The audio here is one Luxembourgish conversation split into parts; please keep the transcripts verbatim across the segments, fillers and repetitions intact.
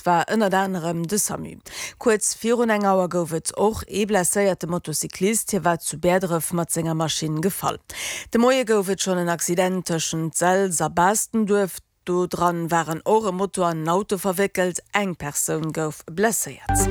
war ënnert anerem de Samu. Kuerz virun eng Auer gouf et och ee blesséierte Motocyclist, hie war zu Bäerdref mat senger Maschinn gefall. De Moie gouf et schonn en Accident tëschent Selz a Baastenduerf, do dran waren och e Moto an en Auto verwéckelt, eng Persoun gouf blesséiert.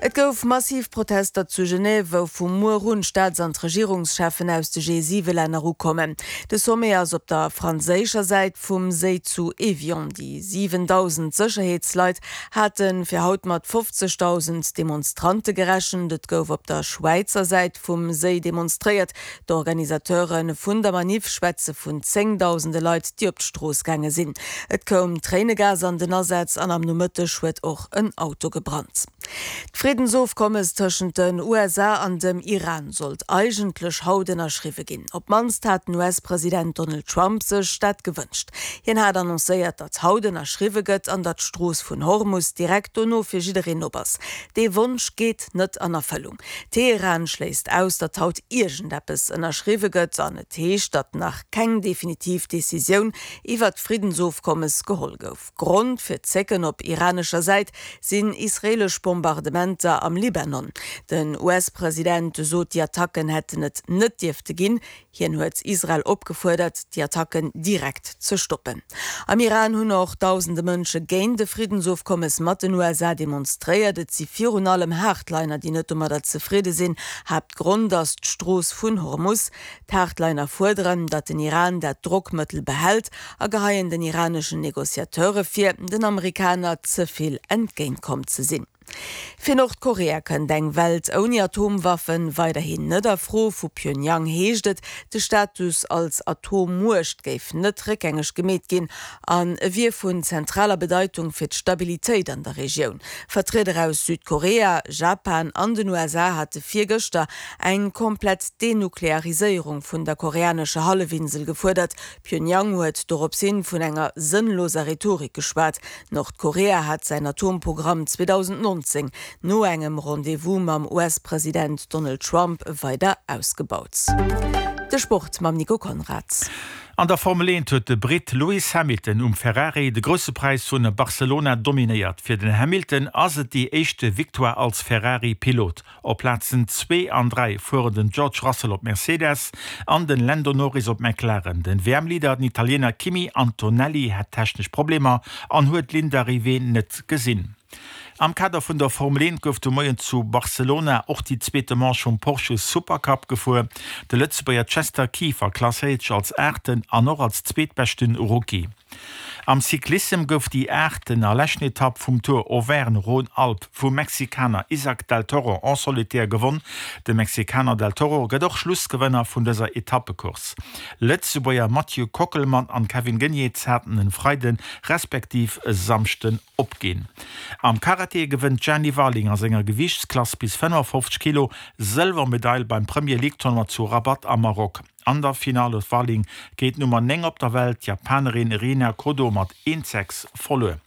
Et gouf massiv Protester zu Genève, wou vu muer un d'Staats an d'Regierungscheffen aus de G siwe Länner ukommen. De Sommet ass op der franséischer Säit vum Séi zu Evian. Déi siwendausend Sécherheetsleit hate fir haut mat fofzegdausend Demonstrante gerechent. Et gouf op der Schwäizer Säit vum Séi demonstréiert. D'Organisateure vun der Maniff schwätze vun zéngdausende Leit, déi op d'Strooss gaange sinn. Et koum Tréinegas an den Asaz an am Nomëtteg huet och en Auto gebrannt. D'Friddensofkommes tëschent den U S A an dem Iran sollt eigentlech haut ënnerschriwwe ginn. Op d'mannst hat den U S-President Donald Trump sech dat gewënscht. Hien hat annoncéiert, datt haut ënnerschriwwe gëtt an datt d'Strooss vun Hormus direkt dono fir jiddereen op ass. Dee Wonsch geet net an Erfëllung. Teheran schléisst aus, datt haut iergendeppes ënnerschriwwe gëtt an et heescht, datt nach keng definitiv Decisioun iwwer d'Friddensofkommes geholl gouf. Grond fir d'Zécken op iranescher Säit sinn israelesch Bombardementer am Libanon. Den U S-President sot, déi Attacken hätten et net dierfte ginn. Hien huet Israel opgefuerdert, déi Attacken direkt ze stoppen. Am Iran hunn och dausende Mënsche géint de Friddensofkommes mat den U S A demonstréiert. Et si virun allem Hardliner, déi net domadder zefridde sinn. Haaptgrond ass d'Strooss vun Hormus. D'Hardliner fuerderen, datt den Iran dat Drockmëttel behält a geheien den iraneschen Negociateure vir, den Amerikaner ze vill entgéintkomm ze sinn. Fir Nordkorea kënnt eng Welt ouni Atomwaffen weiderhin net a Fro. Vu Pjöngjang heescht et, de Status als Atommuecht géif net réckgängeg gemeet ginn an e wier vun zentraler Bedeitung fir d'Stabilitéit an der Regioun. Vertrieder aus Südkorea, Japan an den U S A hate virgëschter eng komplett Denukleariséierung vun der koreanescher Hallefinsel gefuerdert. Pjöngjang huet dorops hin vun enger sënnloser Rhetorik geschwat. Nordkorea hat säin Atomprogramm zweedausendnonzéng no engem Rendez-vous mam U S-President Donald Trump weider ausgebaut. De Sport mam Nico Konrad. An der Formel eent huet de Brit Lewis Hamilton um Ferrari de grousse Präis vun Barcelona dominéiert. Fir den Hamilton ass et déi éischte Victoire als Ferrari-Pilot. Op Plazen zwee an dräi fueren den George Russell op Mercedes an den Lando Norris op McLaren. Den W M-Leader, den Italiener Kimi Antonelli, hat technesch Problemer an huet d'Ligne d'Arrivée net gesinn. Am Kader vun der Formel eent gouf de Moien zu Barcelona och déi zweete Manche vum Porsche Supercup gefuer. De Lëtzebuerger Chester Kieffer klasséiert sech als Aachten an och als zweetbeschten Rookie. Am Cyclissem gouf déi aachten a leschten Etapp vum Tour Auvergne-Rhône-Alpes vum Mexikaner Isaac del Toro en solitaire gewonn. De Mexikaner del Toro gëtt och Schlussgewënner vun dëser Etappecourse. Lëtzebuerger Mathieu Kockelmann an Kevin Geniets haten en Freiden respektiv e Samschden opginn. Am Karate gewënnt Jenny Warling a senger Gewiichtsklass bis fënnefofzeg Kilo Sëlwermedail beim Premier League Tournoi zu Rabat am Maroc. An der Finale huet Warling géint Nummer néng op der Welt, d'Japanerin Rina Kodo mat eent sechs verluer.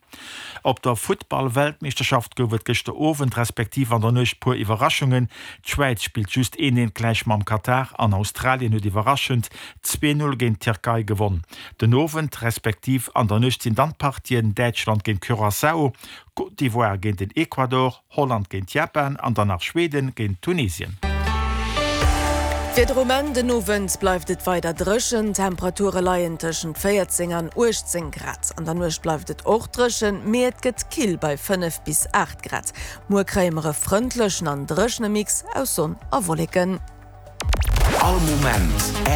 Op der Futtball-Weltmeeschterschaft gouf et gëschter Owend respektiv an der Nuecht puer Iwwerraschungen. D'Schwäiz spillt just een eent gläich mam Katar an Australien huet iwwerraschend zwee null géint d'Tierkei gewonn. Den Owend respektiv an der Nuecht sinn dann d'Partien Däitschland géint Curaçao, Côte d'Ivoire géint den Ecuador, Holland géint Japan an dann nach Schweden géint Tunesien. Fir de Moment den Owend bleift et weider dréchen. Temperature leien tëschent véierzéng an uechtzéng Grad. An der Nuecht bleift et och dréchen, mee et gëtt kill bei fënnef bis aacht Grad. Muer kréie mer e frëndlechen an dréchene Mix aus Sonn a Wolleken. All Moment R T L.